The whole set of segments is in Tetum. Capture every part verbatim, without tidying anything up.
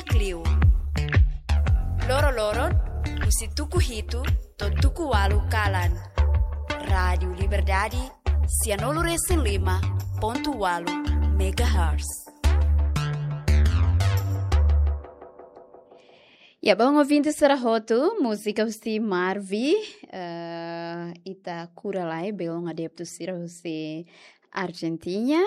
Klio. Loro-loron, husi tuku hitu to'o tuku ualu kalan. Rádiu Liberdade, sianulu-resin-lima pontu ualu megahertz. Ya, bom ouvinte sira hotu, múzika husi Marvi, eh, ita kura lai, belun adeptu sira husi Argentina.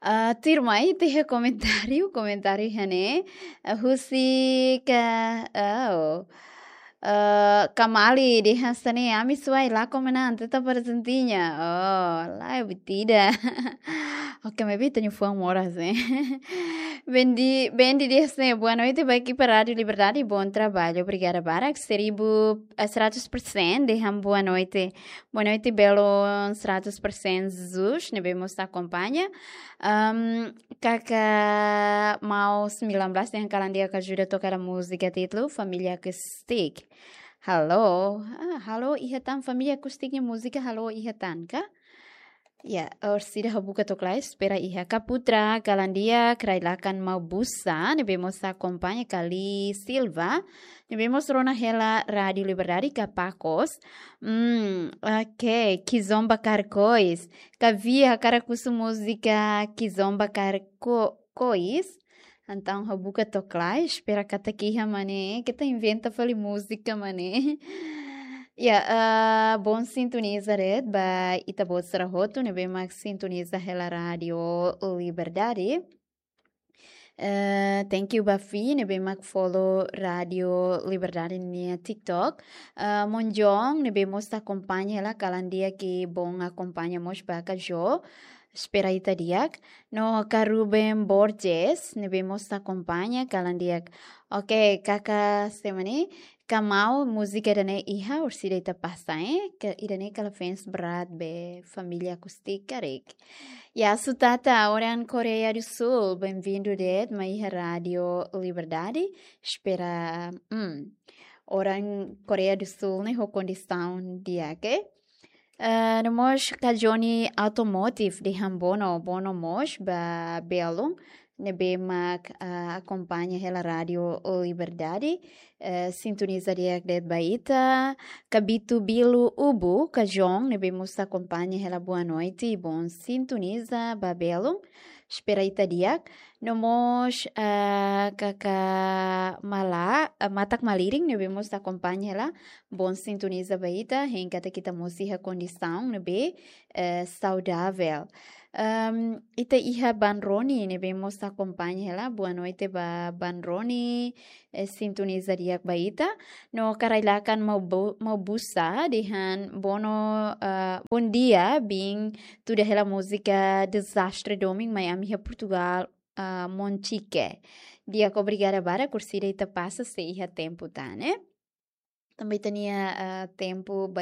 Ah, tuirmai, iha komentáriu, komentáriu ne'e, ah, husi ka, oh, ah, Kamali dehan hanesan ne'e, ami suai la komenante ta Argentina. Oh, la é butida. Ok, maybe tenho fã moras, eh. Bendi, Bendi dehan hanesan ne'e, boa noite, ba ekipa Rádiu Liberdade, bom trabalho, obrigada barak, seribu, eh, seratus persen, dehan boa noite. Boa noite, belun, seratus persen Jesus, ne'ebé mós akompaña. Ahm, Kaka Mau sembilan belas dehan kalan di'ak, ajuda toka múzika títulu Família Acústica. Halo, ah, halo iha tan, Família Acústica nia múzika halo iha tan ka? Ya, orsida ha'u buka to'ok lai, espera iha. Ka Putra, kalan di'ak, rai-lakan Mau Busa, ne'ebé mós akompaña, Kali Silva, ne'ebé mós rona hela Rádiu Liberdade, ka Pakos. Hmm, ok, Kizomba Karkois. Ka Via, hakarak husu múzika Kizomba Karko-, Kois. Entaun ha'u buka to'ok lai, espera katak iha mak ne'e, keta inventa fali múzika mak ne'e. Ya, ah, bom sintoniza de'it ba ita-boot sira hotu, ne'ebé mak sintoniza hela Rádiu Liberdade. Eh, thank you ba Fi, ne'ebé mak follow Rádiu Liberdade nia TikTok. Eh, Monjong, ne'ebé mós akompaña hela, kalan di'ak, bom akompaña mós ba Kajo. Espera ita di'ak. No ka Ruben Borges, ne'ebé mós akompaña, kalan di'ak. Ok, kaka semani, ka Mau, múzika ida-ne'e iha, orsida ita pasa, eh? Ka ida-ne'e kala fans berat ba Família Acústica karik. Ya, Sutata, orang Koreia do Sul, bem-vindo de'it mai iha Rádiu Liberdade. Espera, hmm, orang Koreia do Sul ne'e ho kondisaun di'ak, eh? Eh, no mós ka Johnny Automotive dehan bono, bono mós ba belun, ne'ebé mak, ah, akompaña hela Rádiu Liberdade, eh, sintoniza di'ak de'it ba ita. Ka Bitu Bilu Ubu, ka João, ne'ebé mós akompaña hela, boa noite, bom sintoniza ba belun. Espera ita di'ak. No mós, ah, kaka Mala, ah, Matak Malirin, ne'ebé mós akompaña hela, bom sintoniza ba ita, hein katak ita mós iha kondisaun ne'ebé, eh, saudavel. Ahm, ita iha Ban Roni, ne'ebé mós akompaña hela, boa noite ba Ban Roni, eh, sintoniza di'ak ba ita. No ka rai-lakan Mau Bu-, Mau Busa, dehan bono, ah, bom dia, bin tuda hela múzika Desastre Domin mai ami iha Portugal, ah, Monchique. Di'ak, obrigada barak, orsida ita pasa se iha tempu tan, eh? Tanba ita-nia, ah, tempu ba